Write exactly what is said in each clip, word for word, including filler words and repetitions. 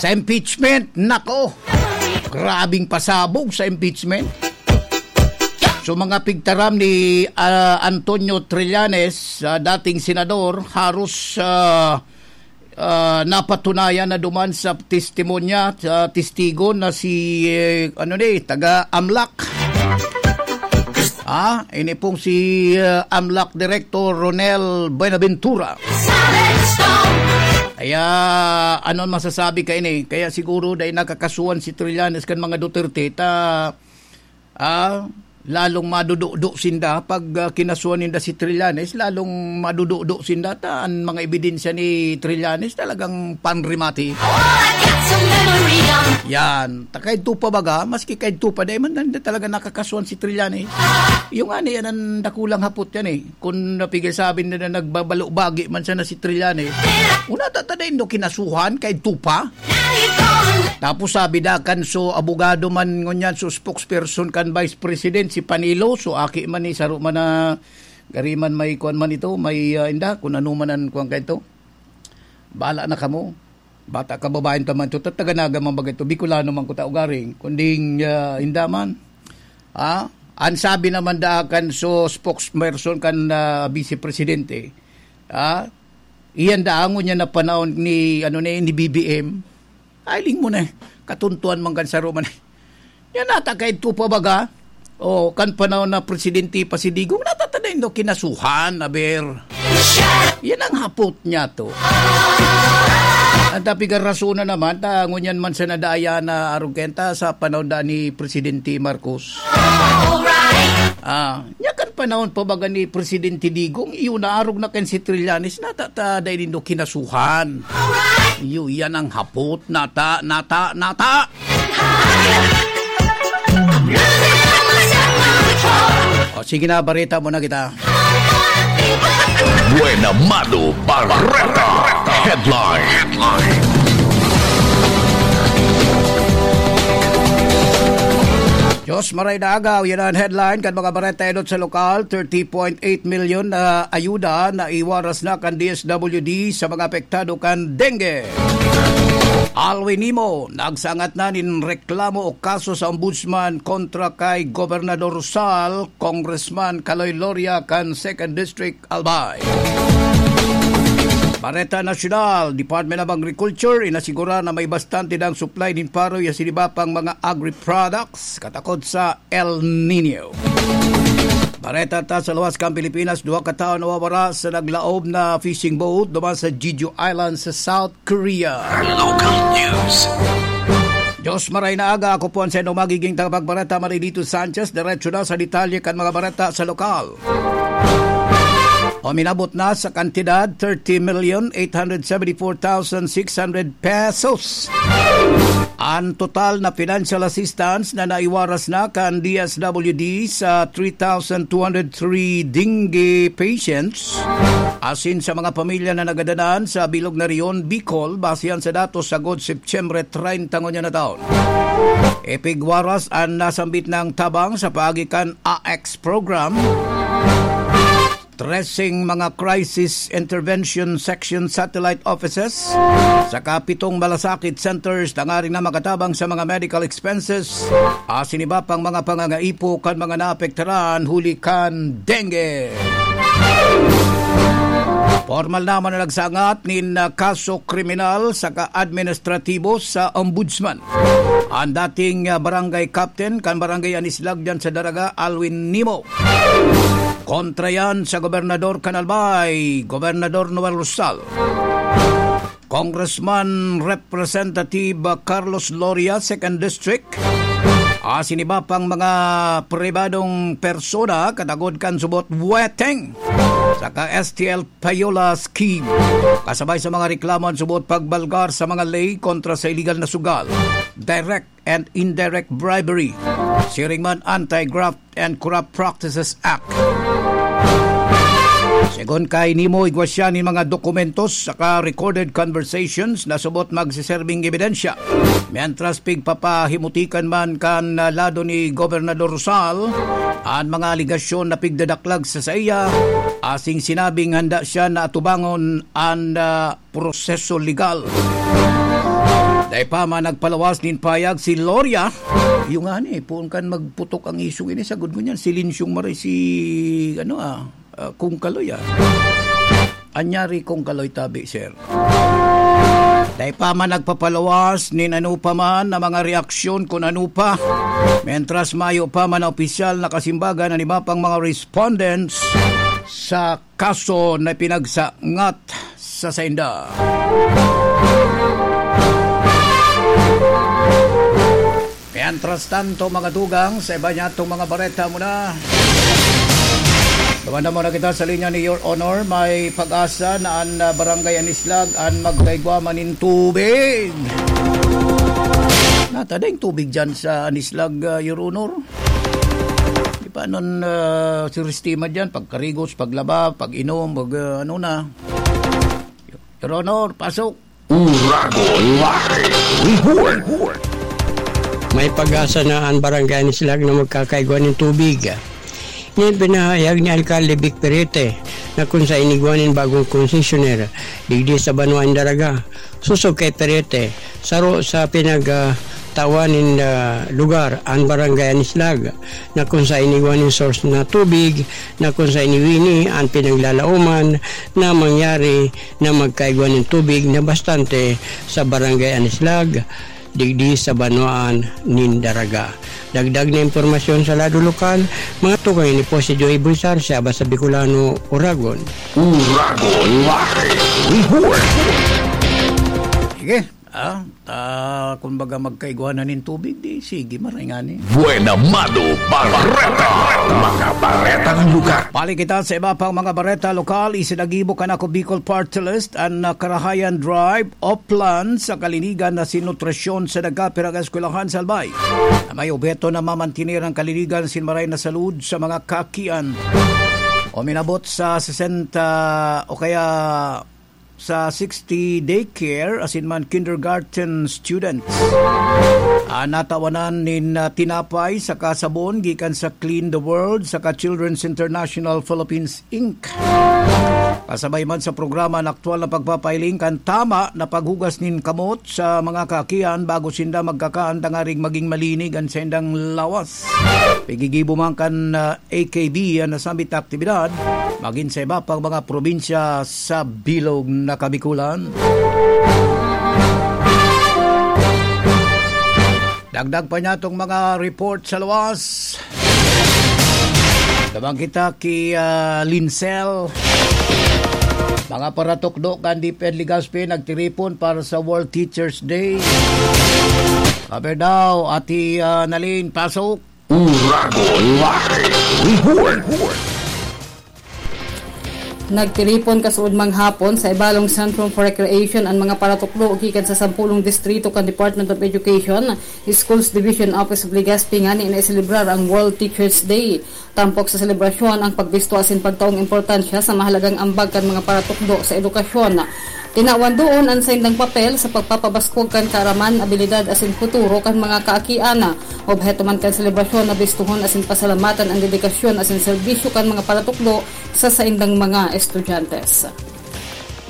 Ta impeachment, nako! Grabing pasabog sa impeachment. So, mga pigtaram ni, ah, Antonio Trillanes, ah, dating senador, haros, ah, ah, napatunayan na duman sa testimonya, sa testigo na si, eh, ano ni, taga Amlac. Ah, ini pong si, ah, Amlac Director Ronel Buenaventura. Kaya, ano ang masasabi ka ini? Kaya siguro dahil nakakasuhan si Trillanes kan mga Duterte, ta, ah, lalong madududo sinda pag, ah, kinasuhan ninda si Trillanes, lalong madududo sinda ta an mga ebidensya ni Trillanes talagang panrimati. Yan, ta kaidto pa baga, maski kaidto pa, dai man talaga nakakasuhan si Trillanes. Yung ani, yan ang dakulang hapot yan eh. Kung napigil sabi na, na nagbabalo-bagi man sana si Trillanes, una ta, ta dai nindo kinasuhan, kaidto pa. Tapos sabi da kan so abogado man ngunyan, so spokesperson kan Vice President, si Panelo, so aki man ni saro man na gari man may kuwan man ito, may, ah, inda, kung ano man ang kuwan ka ito. Bala na kamo. Bata kababayan ta man ito, tataganaga man baga ito, Bicolano man ko ta ugaring, kunding, ah, inda man. Ah, ang sabi naman da kan so spokesperson kan, ah, Vice Presidente, ah, iyan da ngunyan na panahon ni, ano ni, ni B B M, ay, ling mo na eh. Katuntuan man kan saro man eh. Yan nata kaidto pa baga. O, kan panahon na presidente pa si Digong, nata ta dai nindo kinasuhan, aber. Yan ang hapot niya to. Ang tapigan rason na naman, ta ngunyan man sa nadaya na arugenta sa panahon da ni Presidente Marcos. Ah, nya kan panahon pa baga ni Presidente Digong, iyo naarog na kan si Trillanes, nata ta dai nindo kinasuhan. Iyo, yan ang hapot, nata, nata, nata. O, sige na, bareta mo na kita. Buena Mano Bareta. Headline. Headline. Diyos maray na agaw, yan ang headline kan mga bareta enot sa lokal, thirty point eight million na ayuda na iwaras na kan D S W D sa mga apektado kan dengue. Alwin Nimo, nagsangat na nin reklamo o kaso sa ombudsman kontra kay Gobernador Rosal, Congressman Kaloy Loria kan Second District, Albay. Bareta Nasyonal, Department of Agriculture, inasigura na may bastante dang supply nin paroy asin iba pang mga agri-products katakod sa El Nino. Bareta ta sa luwas kan Pilipinas, duha ka tawo nawawara sa naglaob na fishing boat duman sa Jeju Island sa South Korea. Local news. Diyos maray na aga, ako po ang sendo magiging tagapagbareta, Marinito Sanchez. Diretso na sa detalye kan mga bareta sa lokal. Uminabot na sa kantidad thirty million eight hundred seventy-four thousand six hundred pesos an total na financial assistance na naiwaras na kan D S W D sa three thousand two hundred three dengue patients asin sa mga pamilya na nagadanan sa bilog na rehiyon, Bicol, base yan sa datos sagkod Setyembre treinta ngunyan na taon. Ipigwaras an nasambit na tabang sa paagi kan A X program, trese mga Crisis Intervention Section satellite offices, saka pitong malasakit centers tanganing na makatabang sa mga medical expenses, asin iba pang mga pangangaipo kan mga naapektaran huli kan dengue. Pormal naman na nagsangat nin, ah, kaso kriminal saka administratibo sa ombudsman an dating, ah, barangay captain kan barangay Anislag diyan sa Daraga, Alwin Nimo. Kontra yan sa gobernador kan Albay, Gobernador Noel Rosal, Congressman Representative Carlos Loria, Second District, asin iba pang mga pribadong persona katagod kan subot weteng saka S T L Payola Scheme. Kasabay sa mga reklamo an subot pagbalgar sa mga ley kontra sa iligal na sugal, direct and indirect bribery, siring man Anti-Graft and Corrupt Practices Act. Segun kay Nimo, igwa siya nin mga dokumentos saka recorded conversations na subot magseserbing ebidensya. Mientras pigpapahimutikan man kan lado ni Gobernador Rosal an mga alegasyon na pigdadaklag sa saiya, asin sinabing handa siya na atubangon an, ah, proseso legal. Dai pa man nagpalawas nin payag si Loria. Iyo ngani, poon kan magputok an isyu ini, sagkod ngunyan, silensyong maray si, ano, ah, ah, Kong Kaloy, ah. Anyari, Kong Kaloy, tabi, sir. Dai pa man nagpapalawas nin ano pa man na mga reaksyon kun ano pa. Mientras mayo pa man na opisyal na kasimbagan an iba pang mga respondents sa kaso na pinagsangat sa sainda. Mientras tanto, mga tugang, sa iba niyatong mga bareta muna. Dumanda muna kita sa linya ni Your Honor. May pag-asa na an, ah, Barangay Anislag an magkaigwa man nin tubig. Nata, daing tubig dyan sa Anislag, ah, Your Honor? Di pa nun, ah, siristima dyan, pagkarigos, paglaba, pag-inom, pag, ah, ano na. Your Honor, pasok. Uragon Live Report. May pag-asa na an Barangay Anislag na magkakaigwa nin tubig. Ini an pinahayag ni Alkalde Vic Perete, na kun sa inigwa nin bagong konsesyoner digdi sa Banwaan Daraga. Sosog kay Perete, saro sa pinag, ah, tawan nin, ah, lugar an Barangay Anislag, na kun sa inigwa nin source na tubig, na kun sa iniwini an pinaglalaoman na mangyari na magkaigwa nin tubig na bastante sa Barangay Anislag, digdi sa banwaan nin Daraga. Dagdag na impormasyon sa lado lokal, mga tugang, ini po si Joey Bulsar, sa Abas sa Bicolano, Uragon. Uragon Live Report. Sige, ah, ta, kumbaga magkaigwa na nin tubig, di, sige, maray ngani. Buena Mado Bareta, mga baretang lugar. Balik kita sa iba pang mga bareta lokal. Isinagibo kan Ako Bicol Party List an, ah, Karahayan Drive, Oplan sa Kalinigan na sin nutrasyon sa nagkapirang eskwelahan sa Albay, na may obheto na mamantener an kalinigan sin maray na salud sa mga kaakian. Uminabot sa sesenta o kaya sa sixty daycare asin man kindergarten students an natawanan nin, ah, tinapay saka sabon gikan sa Clean the World saka Children's International Philippines Inc. Kasabay man sa programa an aktuwal na pagpapahiling kan tama na paghugas nin kamot sa mga kaakian bago sinda magkakaan, tanganing magin malinig an saindang lawas. Pigigibo man kan, ah, A K B an nasambit na aktibidad, magin sa iba pang mga probinsya sa bilog na Kabikulan. Dagdag pa niya itong mga report sa luwas. Tabang kita ki, ah, Lincel. Mga paratukdo kan DepEd Legazpi nagtiripon para sa World Teachers Day. Kaber daw, Ate, ah, Nalin, pasok. Uragon Live Report. Nagtiripon kasuodmang hapon sa Ibalong Centrum for Recreation an mga paratukdo gikan sa sampolong distrito kan Department of Education, Schools Division, Office of Legazpi ngani na iselebrar ang World Teachers Day. Tampok sa selebrasyon ang pagbisto asin pagtaong importansya sa mahalagang ambag kan mga paratukdo sa edukasyon. Tinawan doon an saindang papel sa pagpapabaskog kan kaaraman, abilidad asin futuro kan mga kaakian. Obheto man kan selebrasyon na bistohon asin pasalamatan an dedikasyon asin serbisyo kan mga paratukdo sa saindang mga estudyante.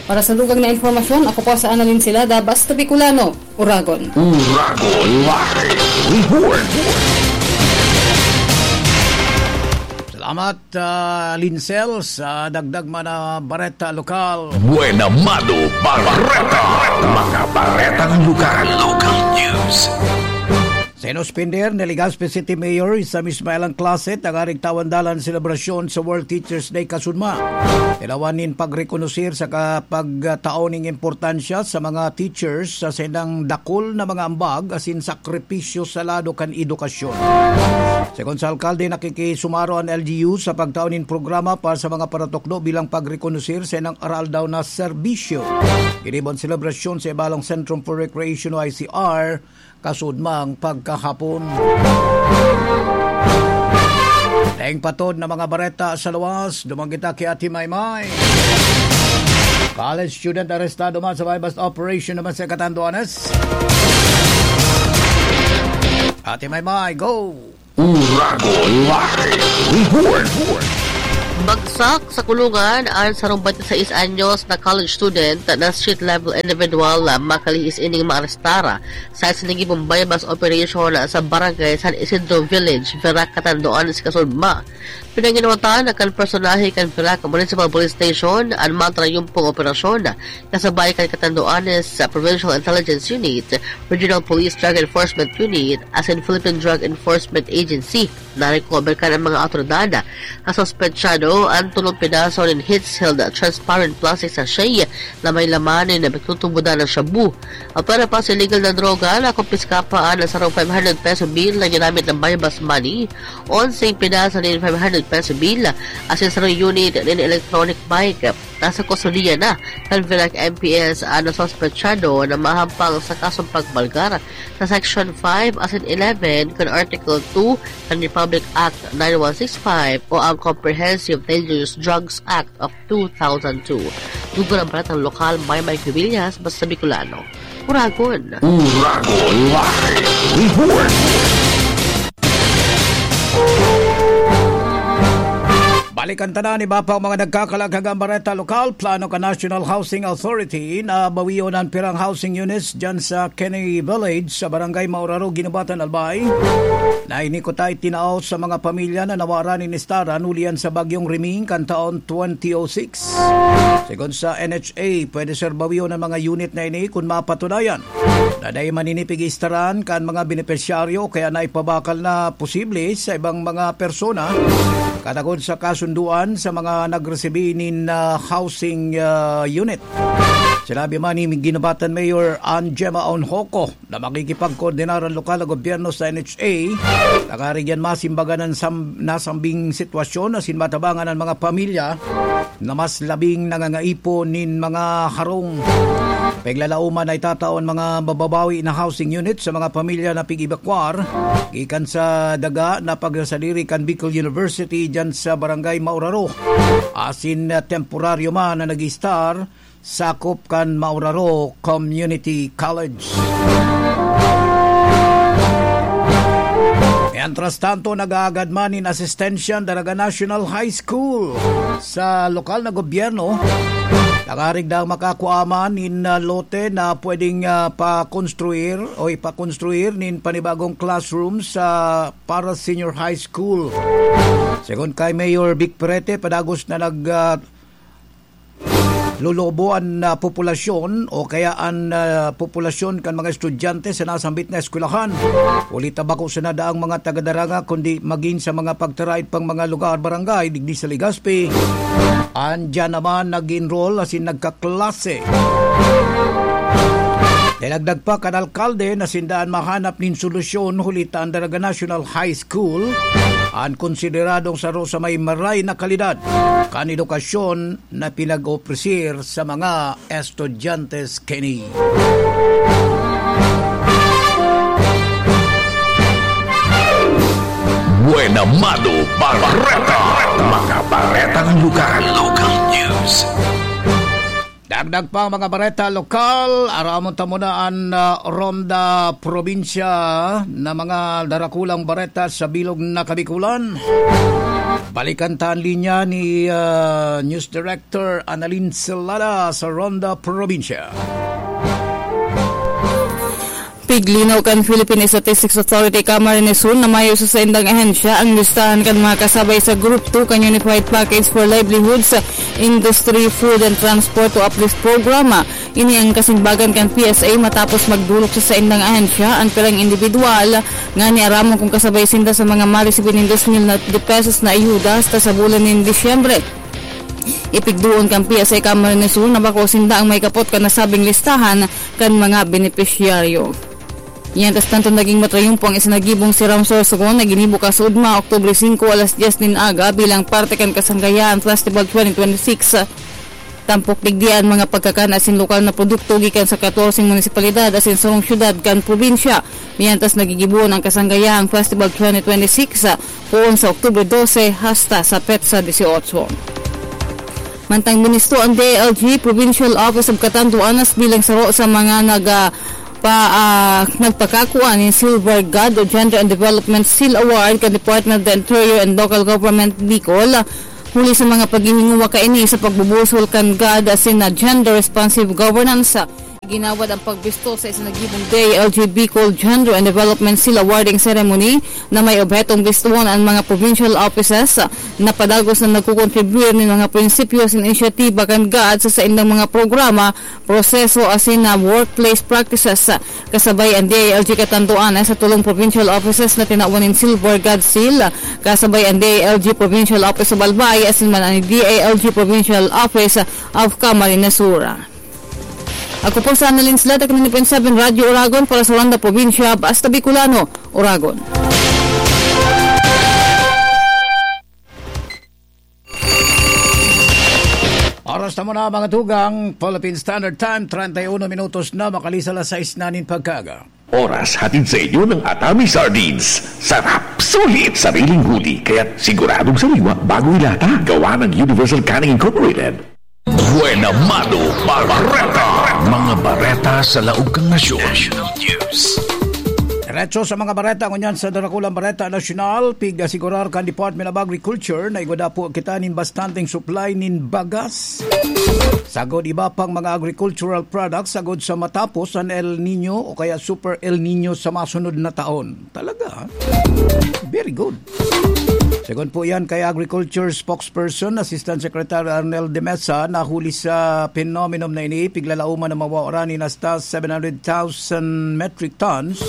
Para sa dugang na impormasyon, ako po si Annalyn Silada, Basta Bicolano, Uragon. Uragon Live Report. Salamat, ah, Lincel, sa dagdag man na bareta lokal. Buena Mado Bareta, mga baretang lugar. Local news. Sinuspender ni Legazpi City Mayor Sam Ismael ang klase tanganing tawan dalan selebrasyon sa World Teachers Day kasuodma. Ilawan nin pagrekonosir saka pagtao nin importansya sa mga teachers sa saindang dakul na mga ambag asin sakripisyo sa lado kan edukasyon. Segun sa alkalde, nakikisumaro an L G U sa pagtao nin programa para sa mga paratukdo bilang pagrekonosir sa saindang aroaldaw na serbisyo. Ginibo an selebrasyon sa Ibalong Centrum for Recreation o I C R kasuodmang pagkahapon. Daing patod na mga bareta sa luwas, duman kita ki Ate Maymay. College student arestado man sa buy-bust operation naman sa Catanduanes. Ate Maymay, go! Uragon Live Report. Bagos Sak sa kulungan an sarong twenty-six anyos na college student na street-level individual na makalihis ining maarestar sa isinagibong buy-bust operation sa Barangay San Isidro Village, Virac, Catanduanes, Kasudma. Pinanginuwatan na kan personahe kan Virac Municipal Police Station an matrayumpong operasyon, kasabay kan Catanduanes Provincial Intelligence Unit, Regional Police Drug Enforcement Unit, asin Philippine Drug Enforcement Agency. Narecover kan mga awtoridad na suspetsado an tolong pedaso nin heat-sealed transparent plastic sachet na may laman nin pagtutubodan na shabu. Apwera pa sa illegal na droga, nakumpiska pa an sarong five hundred peso bill na ginamit na buy-bust money, onseng pedaso nin five hundred peso bill, asin sarong unit nin electronic bike. Nasa kustodiya na kan Virac M P S an suspetsado na mahampang sa kasong pagbalgar sa Section five asin eleven kan Article two kan Republic Act nine one six five o ang Comprehensive Dangerous Drugs Act of two thousand two. Dugo ng balatang lokal, Maymay Cubillas, basta Bicolano. Uragon. Uragon Live Report. Balikan ta na an iba pang mga nagkakalaaghagang bareta lokal. Plano kan National Housing Authority na bawion an pirang housing units dyan sa Kenny Village sa Barangay Mauraro, Guinobatan, Albay. Na ini kuta itinao sa mga pamilya na nawara nin estaran huli yan sa Bagyong Riming kan taon twenty oh six. Segun sa N H A, pwede ser bawion an mga unit na ini kun mapatunayan na dai maninipig istaran kan mga benepisyaryo o kaya naipabakal na posible sa ibang mga persona, katagod sa kasunduan sa mga nagresibi nin, ah, housing, ah, unit. Sinabi man ni Guinobatan Mayor Ann Gemma Onhoco na makikipagkoordinar ang lokal na gobyerno sa N H A, tanganing yan masimbagan an sam-, nasambing sitwasyon asin matabangan an mga pamilya na mas labing nangangaipo nin mga harong. Piglalauman na itatao an mga mababawi na housing unit sa mga pamilya na pig-ebakwar gikan sa daga na pagsasadiri kan Bicol University dyan sa Barangay Mauraro, asin, ah, temporaryo man na nag-istar sakop kan Mauraro Community College. Mientras tanto, nag-aagad man nin asistensya an Daraga National High School sa lokal na gobyerno. Tanganing daang makakua man nin, ah, lote na pwedeng, ah, pakonstruir o ipakonstruir nin panibagong classroom sa para Senior High School. Segun kay Mayor Vic Perete, padagos na nag, ah, lolobo an, ah, populasyon o kaya an, ah, populasyon kan mga estudyante sa nasambit na eskwelahan. Huli ta bako sana daang mga taga-Daraga, kundi magin sa mga pagtaraid pang mga lugar, barangay, digdi sa Legazpi. Andiyan naman nag-enroll asin nagkaklase. Dinagdag pa kan alkalde na sinda an mahanap nin solusyon, huli ta an Daraga National High School an konsideradong saro sa may maray na kalidad kan edukasyon na pinag-opresir sa mga estudyante kini. Buena Mano Bareta. Mga baretang lugar. Local news. Dagdag pa ang mga bareta lokal, aramon ta muna an, ah, Ronda Probinsya na mga darakulang bareta sa bilog na Kabikulan. Balikan ta an linya ni, ah, News Director Annalyn Celada sa Ronda Probinsya. Piglinaw kan Philippine Statistics Authority, Camarines Sur, na mayo sa saindang ahensya ang listahan kan mga kasabay sa Group two kan Unified Package for Livelihoods, Industry, Food and Transport o uplift Program. Ini ang kasimbagan kan P S A matapos magdolok sa saindang ahensya ang pirang indibidwal ngani aramon kung kasabay sinda sa mga maresibi nin dos mil na de pesos na ayuda hasta sa bulan nin Disyembre. Ipigdoon kan P S A Camarines Sur na bako sinda ang may kapot kan nasabing listahan kan mga benepisyaryo. Mientras tanto, naging matrayumpo ang isinagibong si Ram Sorsogon na ginibo kasuodma, Oktubre singko, alas dyes nin aga, bilang parte kan Kasanggayaan Festival twenty twenty-six. Tampok digdi an mga pagkakan asin lokal na produkto gikan sa katorse munisipalidad asin sarong syudad kan probinsya. Mientras, nagigibohon ang Kasanggayaan Festival twenty twenty-six, ah, poon sa Oktubre dose hasta sa petsa disiotso. Mantang binisto ang D I L G Provincial Office of Catanduanes bilang saro sa mga nag, ah, pa, ah, nagpakakua nin Silver God o Gender and Development Seal Award kan Department of the Interior and Local Government, Bicol, Huli sa mga paghihinguwa kaini sa pagbubusol kan God asin na gender-responsive governance, ginawad ang pagbisto sa isinagibong D I L G Bicol Gender and Development Seal Awarding Ceremony na may obhetong bistuhon ang mga provincial offices na padagos na nagkukontribuyar nin mga prinsipyo sa inisyatiba kan God sa saindang mga programa, proseso asin na workplace practices. Kasabay an D I L G Catanduanes sa tulong provincial offices na tinawan nin Silver God Seal, kasabay an D I L G Provincial Office sa Albay asin man an D I L G Provincial Office of Camarines Sur. Ako po si Annalyn Slata, ninety point seven Radyo Oragon para sa Randa Probinsya, Basta Bicolano, Oragon. Oras na muna, mga tugang, Philippine Standard Time, treinta y uno minutos na, makalipas alas sais na nin pagkaaga. Oras hatid sa inyo ng Atami Sardines. Sarap, sulit, sariling huli, kaya siguradong sariwa bago ilata. Gawa ng Universal Canning Incorporated. Buena Mano Bareta. Mga bareta sa laog kan nasyon. National News. Diretso sa mga bareta ngunyan sa Darakulang Bareta Nasyonal, pig-asigurar kan Department of Agriculture na igwa dapo kita nin bastanteng supply nin bagas, sagod iba pang mga agricultural products, sagod sa matapos an El Nino o kaya Super El Nino sa masunod na taon. Talaga, ha? Very good. Segun po yan kay Agriculture Spokesperson, Assistant Secretary Arnel de Mesa, na huli sa phenomenon na ini, piglalauman na mawawara nin hasta seven hundred thousand metric tons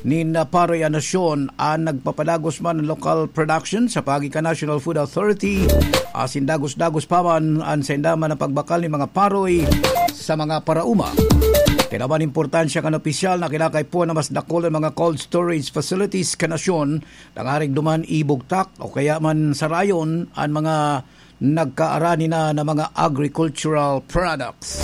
nin paroy an nasyon. An nagpapadagos man an local production sa paagi kan National Food Authority, asin dagos-dagos pa man an sainda man an pagbakal nin mga paroy sa mga paraoma. Tinawan importansya kan opisyal na kinakaipuhan na mas dakul an mga cold storage facilities kan nasyon, tangarig duman ibugtak o kaya man sarayon an mga nagkaarani na, na mga agricultural products.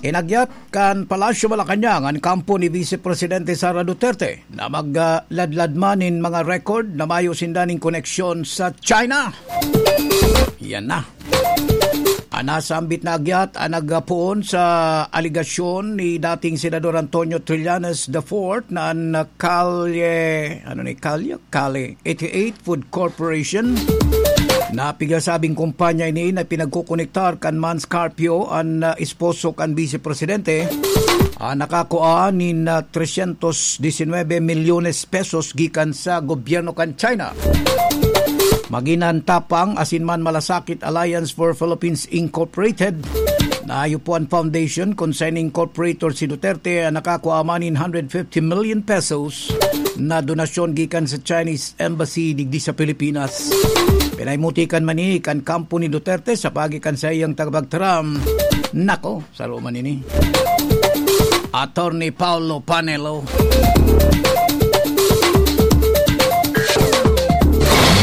Inagyat kan Palasyo Malacañang an kampo ni Vice Presidente Sara Duterte na magladlad man nin mga record na mayo sinda nin koneksyon sa China. Yan na. An nasambit na agyat an nagpoon sa alegasyon ni dating Senador Antonio Trillanes the fourth na an Kalye, ano ni, Kalye? Kale eighty-eight Food Corporation. Na pigasabing kumpanya ini na pinagkukonektar kan Mans Carpio, an, ah, esposo kan Vice Presidente, ah, nakakua nin, ah, trescientos diecinueve milyones pesos gikan sa gobyerno kan China. Magin an Tapang asin man Malasakit Alliance for Philippines Incorporated, na yupo an foundation kun sa ini incorporator si Duterte, an nakakua man nin hundred fifty million pesos na donasyon gikan sa Chinese Embassy digdi sa Pilipinas. Pinaimutikan man ni kan kampo ni Duterte sa paagi kan saiyang tagapagtaram. Nako, saro man ini. Attorney Paulo Panelo.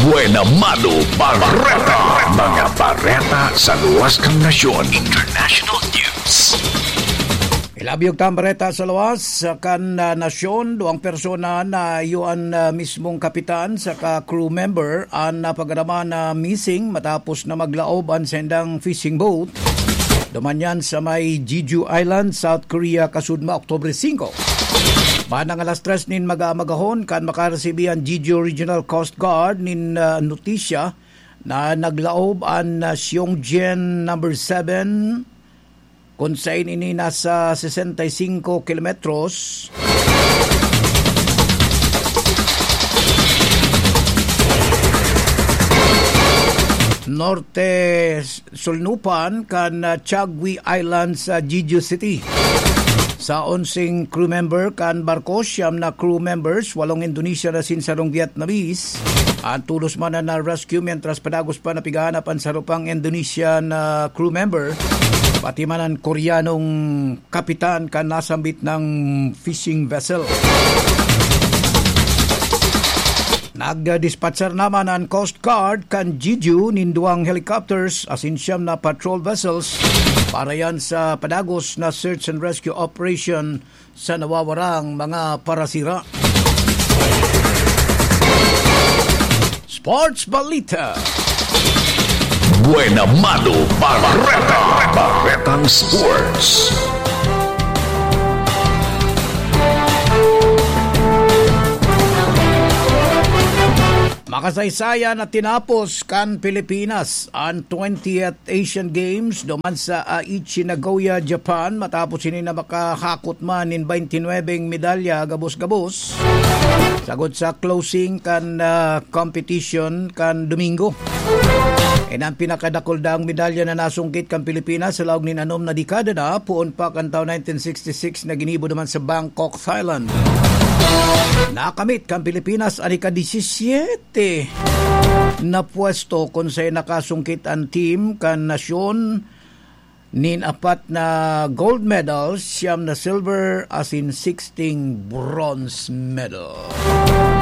Buena Mano Bareta. Mga bareta sa luwas kan nasyon. International News. Ilabyog ta an bareta sa luwas kan, ah, nasyon. Duwang persona na iyo an, ah, mismong kapitan saka crew member an napag-araman na missing matapos na maglaob an saindang fishing boat. Duman yan sa may Jeju Island, South Korea, kasudma, Oktubre singko. Bandang alas tres nin maga-, magahon, kan makaresibi an Jeju Regional Coast Guard nin, ah, notisya na naglaob an, ah, Xiongjian number seven, kun sain ini nasa sesenta y singko kilometros norte sulnupan kan, ah, Chagwi Island sa Jeju City. Sa onseng crew member kan barko, siyam na crew members, walong Indonesian asin sarong Vietnamese, an tolos man na na-rescue, mientras padagos pa na pighahanap an saro pang Indonesian na crew member, pati man an Koreanong kapitan kan nasambit na fishing vessel. Nagdispatchar naman an Coast Guard kan Jeju nin duwang helicopters asin siyam na patrol vessels para yan sa padagos na search and rescue operation sa nawawarang mga parasira. Sports Balita. Buena Mano Bareta. Baretang Sports. Makasaysayan na tinapos kan Pilipinas an twentieth Asian Games duman sa Aichi, Nagoya, Japan, matapos ini na makahakot man nin twenty-nine medalya gabos-gabos. Sagod sa closing kan, ah, competition kan Domingo. Ini ang pinakadakul daang medalya na nasungkit kan Pilipinas sa laog nin anom na dekada na, poon pa kan taon nineteen sixty-six na ginibo naman sa Bangkok, Thailand. Nakamit kan Pilipinas an ika-disisyete na pwesto, kun saen nakasungkit an team kan nasyon nin apat na gold medals, siyam na silver, asin sixteen bronze medal.